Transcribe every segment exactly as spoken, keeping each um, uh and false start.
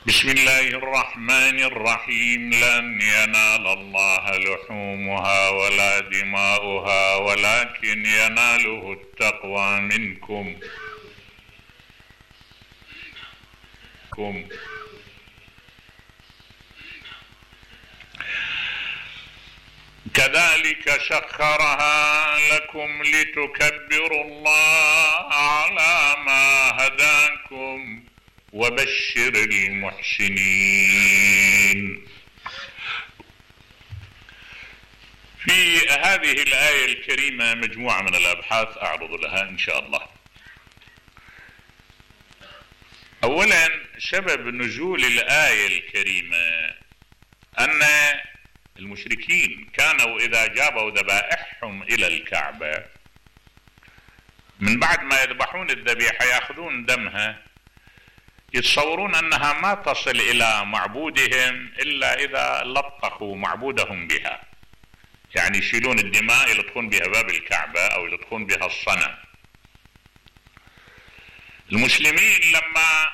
بسم الله الرحمن الرحيم. لن ينال الله لحومها ولا دماؤها ولكن يناله التقوى منكم. كم. كذلك سخرها لكم لتكبروا الله على ما هداكم وبشر المحسنين. في هذه الآية الكريمة مجموعة من الأبحاث أعرض لها إن شاء الله. أولا، سبب نزول الآية الكريمة أن المشركين كانوا إذا جابوا ذبائحهم إلى الكعبة من بعد ما يذبحون الذبيحة يأخذون دمها، يتصورون أنها ما تصل إلى معبودهم إلا إذا لطخوا معبودهم بها، يعني يشيلون الدماء يلطخون بها باب الكعبة أو يلطخون بها الصنم. المسلمين لما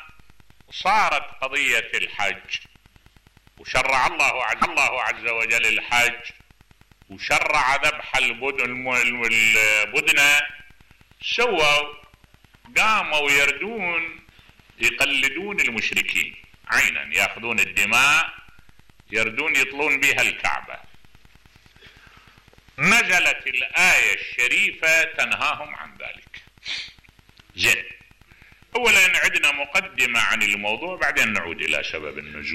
صارت قضية الحج وشرع الله عز, الله عز وجل الحج وشرع ذبح البدنة، سووا قاموا يردون يقلدون المشركين عينا، ياخذون الدماء يردون يطلون بها الكعبة. نزلت الآية الشريفة تنهاهم عن ذلك. زين، أولا عندنا مقدمة عن الموضوع بعدين نعود إلى سبب النزول.